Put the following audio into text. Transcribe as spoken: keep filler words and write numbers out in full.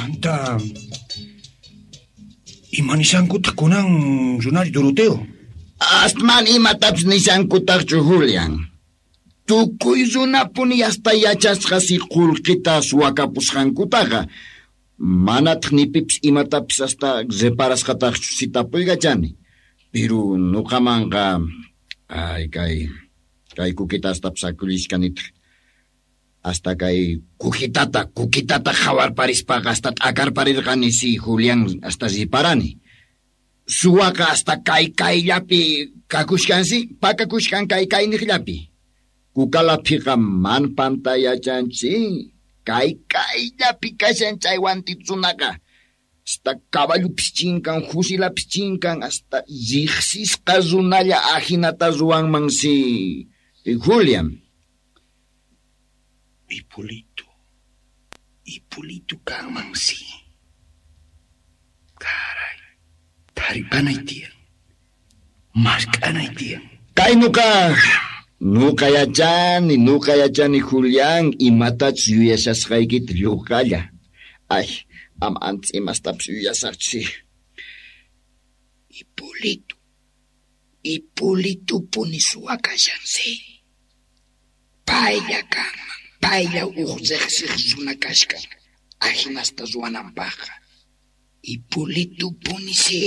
Chanta, ima nishankutaq kunan runari Doroteo? Astman imatapis nishankutaqchu Julian. Tukuy runapuni hasta yachasqa si qullqita suwakapusqankutaqa. Manataq ni pipis imatapis hasta reparasqataqchu si tapuykachani. Pero nuqamanqa ay kay kay kukita hastapis akullishkanitaq. Hasta kay kukitata kukitata qhawarparispaqa hasta t'akarparirqani si Julián hasta riparani. Suwaqa hasta kay kayllapi kakushkansi, pakakushkan kay kayniqllapi. Kukalapiqa man pantayachanchi. Kay kayllapi kashan chay wantitsunaqa. Hasta caballupis chinkan, fusilapis chinkan, hasta riqsisqa runalla ahinata ruwanman si Julián. Hipólito, Hipólito kanman si. Caray, taripanay tiyan, mask'anay tiyan. Kay nuqa, nuqa yachani, nuqa yachani Julián, imatachus yuyashasqaykita lluqalla. Ay, ama antes imastapis yuyasaqchu. Hipólito, Hipólitopuni suwa kashan si. Paylla kanman, paylla uq riqsiq runa kashkan, ahinasta ruwananpaqqa. Hipólitopuni si.